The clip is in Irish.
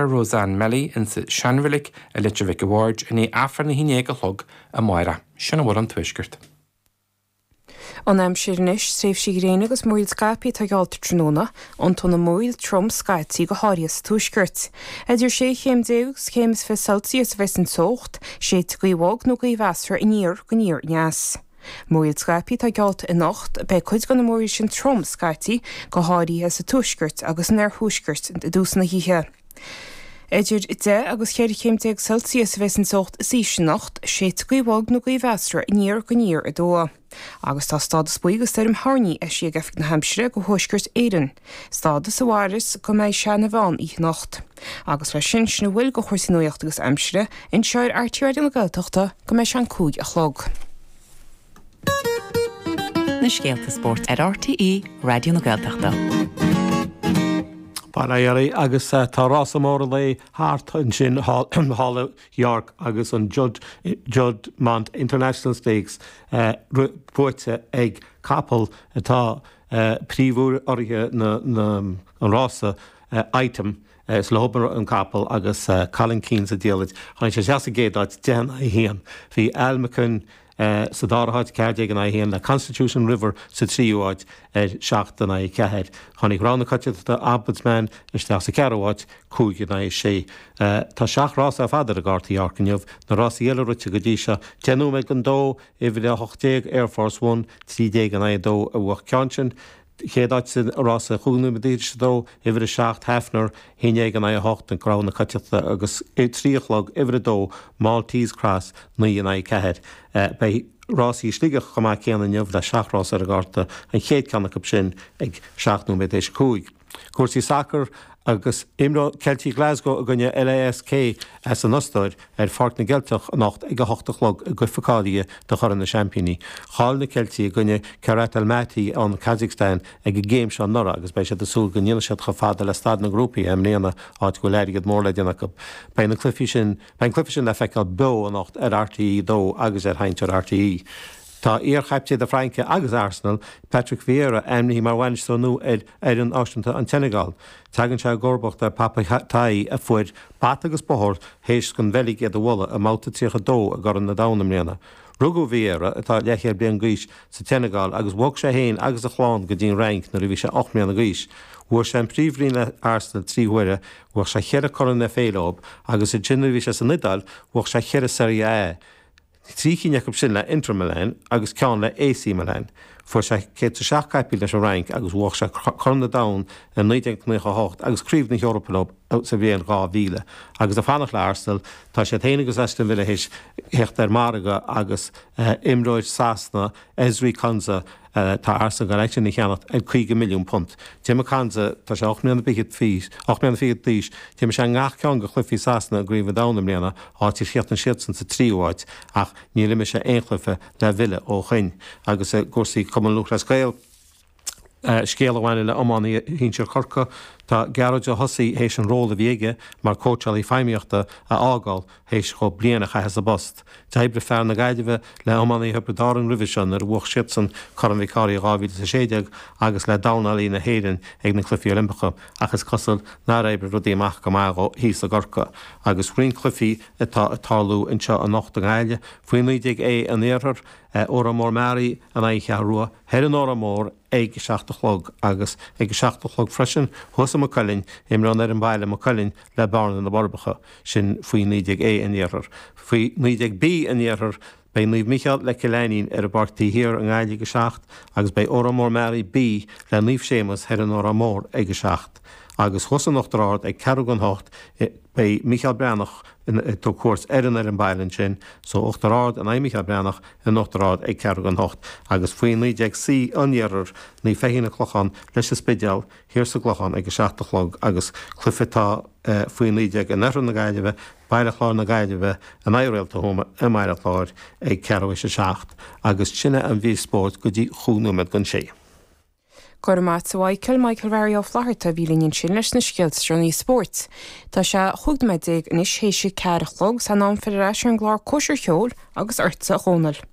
Roseanne Melly insa Seanreilig i Leitir Mhic a' Bhaird i ndiaidh Aifreann a haon dhéag a chlog amárach. Sin a bhfuil ón Tuaisceart. An aimsir anois, tréimhsí gréine agus múraíl scaipthe atá geallta tráthnóna, iontóidh na múraíl trom scaití, go háirithe sa tuaisceart. Idir 16 chéim agus céim is 20 Celsius a bheas an teocht, séidfidh gaoth bhog nó gaoth mheasartha aniar go aniar aneas. Múraíl scaipthe atá geallta anocht, beidh cuid de na múraíl sin trom scaití, go háirithe sa tuaisceart agus san oirthuaisceart i dtús na hoíche. Idir 10 agus 14 chéim Celsius a bheas an teocht is ísle anocht, séidfidh gaoth bhog nó gaoth mheasartha aniar go aniar aduaidh. Agus tá stádas buí do stoirm thoirní eisithe ag Oifig na hAimsire do Thuaisceart Éireann, stádas a mhairfeas go mbeidh sé ina mheán oíche anocht. Agus leis sin, sin a bhfuil de chúrsaí nuachta agus aimsire anseo ar RTÉ Raidió na Gaeltachta go mbeidh sé an 5 a chlog. Na scéalta spóirt ar RTÉ Raidió na Gaeltachta. Bail ó Dhia oraibh agus tá rása mór an lae thart ansin thall i York agus an Juddmonte International Stakes buaite ag capall atá príomhurraithe an rása, Item. Is leob an capall agus Colin Keane sa diallait. Tháinig sé isteach sa gcéad áit, 10 in aghaidh 1. Bhí Almaaken sa dara háit, 14 in aghaidh 1, le Constitution River sa tríú háit ar 7 in aghaidh 4. Tháinig rogha na coitiantachta, Ombudsman, isteach sa cheathrú háit, 5 in aghaidh 6. Tá seacht rás ar fad ar an gcárta i York inniu. Na rásaí eile rite go dtí seo, 10 nóiméad don dó, uimhir 18, Air Force One, 13 in aghaidh 2 a bhuaigh ceann sin. Chéad áit sa rása chúig nóiméad théis a dó, uimhir a 7, Hafner, 11 in aghaidh 8, an rogha na coitiantachta, agus 3 a chlog, uimhir 2, Maltese Cross, 9 in aghaidh 4. Beidh rásaí i Sligeach chomh maith céanna inniu le seacht rás ar an gcárta, an chéad ceann acu sin ag 7 nóiméad théis a 5. Cúrsaí sacair agus imreoidh Ceiltigh Glasgow i gcoinne LASK as an Ostáir ar Pháirc na gCeilteach anocht ag a hocht a chlog i gcluiche cáilithe do Chorn na Seaimpíní. Chaill na Ceiltigh i gcoinne Kairat Almaty ón Kazakhstan ag an gcéim seo anuraidh agus beidh siad ag súil go ndéanfaidh siad chomh fada le staid na ngrúpaí i mbliana, áit go bhfuil airgead mór le déanamh acu. Beidh na cluichí sin Beidh an cluiche sin le feiceáil beo anocht ar RTÉ 2 agus ar Sheinnteoir RTÉ. Tá iar-chaptaen na Fraince agus Arsenal, Patrick Vieira, ainmnithe mar bhainisteoir nua ar fhoireann náisiúnta an tSeineagáil. Tagann sé i gcomharbacht ar Pape Thiaw a fuair bata agus bóthar théis don Bheilg iad a bhualadh i mbabhta 32 i gCorn an Domhain i mbliana. Rugadh Vieira, atá leathchéad bliain d'aois, sa tSeineagáil agus bhog sé féin agus a chlann go dtí an Fhrainc nuair a bhí sé 8 mbliana d'aois. Bhuaigh sé an Príomhroinn le Arsenal 3 huaire, bhuaigh sé cheithre Corn FA leo agus ansin nuair a bhí sé san Iodáil bhuaigh sé cheithre Serie A. 3 cinn acu sin le Inter Milan agus ceann le AC Milan. Fuair sé 107 caipín leis an Fhrainc agus bhuaigh sé Corn an Domhain i 1998 agus Craobh na hEorpa leo sa bhliain 2000. Agus ag fanacht le Arsenal, tá siad féin agus Aston Villa théis theacht ar margadh agus imreoir Sasana, Ezri Konsa, Tá Arsenal ag goil eisean a cheannacht ar £50 milliún. D'imir Konsa, tá sé 8 mbliana fichead, 8 mbliana fichead d'aois, d'imir sé i ngach ceann de chluichí Sasana i gCraobh an Domhain i mbliana, áit ar chríochnaigh siadsan sa tríú háit, ach níor imir sé aon chluiche le Villa ó shoin. Agus i gcúrsaí Cumann Lúthchleas Gael, scéal a bhaineann le iománaí shinsir Chorcaí, tá Gearóid Ó hOsaigh théis an ról a bhí aige mar cóitseálaí feidhmíochta a fhágáil théis dhó bliain a chaitheamh sa bpost. D'oibrigh fear na Gaillimhe le iománaithe Thiobraid Árann roimhe seo nuair a bhuaigh siadsan Corn Mhic Cárthaigh 2016 agus le dornálaithe na hÉireann ag na Cluichí Oilimpeacha ach is cosúil nár oibrigh rudaí amach go maith dhó thíos i gCorcaigh. Agus roinnt cluichí atá ag tarlú anseo anocht i nGaillimh, faoi 19A an Iarthair, Órán Mór Meáraí in aghaidh An Cheathrú Rua thoir in Órán Mór ag a 7 a chlog agus ag a 7 a chlog freisin thuas i Maigh Cuilinn, imreoidh an fhoireann baile Maigh Cuilinn le Bearna na bhForbacha, sin faoi 19A an Iarthair. Faoi 19B an Iarthair, beidh Naomh Mícheál le Cill Ainnín ar an bPáirc Taobh Thiar i nGaillimh ag a 7 agus beidh Órán Mór Meáraí B le Naomh Séamus thoir in Órán Mór ag a 7. Agus thuas in Uachtar Ard ag ceathrú don hocht, beidh Mícheál Breathnach ag tabhairt cuairt ar an fhoireann baile ansin, so Uachtar Ard in aghaidh Mícheál Breathnach in Uachtar Ard ag ceathrú don hocht. Agus faoi 19C an Iarthair, Naomh Feichín an Clochán leis an Spidéal thiar sa gClochán ag a 7 a chlog agus cluiche atá faoi 19 in oirthear na Gaillimhe, Baile Chláir na Gaillimhe in aghaidh Réalta Thuama i mBaile Chláir ag ceathrú théis a 7 agus sin é an mhír spóirt go dtí chúig nóiméad don sé. Go raibh maith a't a Mhichael, Michael Mhary Ó Flatharta a bhí linn ansin leis na scéalta is deireanaí spóirt. Tá sé 15 nóiméad anois théis a 4 a chlog, 's in am filleadh ar ais ar an gclár Cóisir Cheoil agus ortsa a Dhónaill.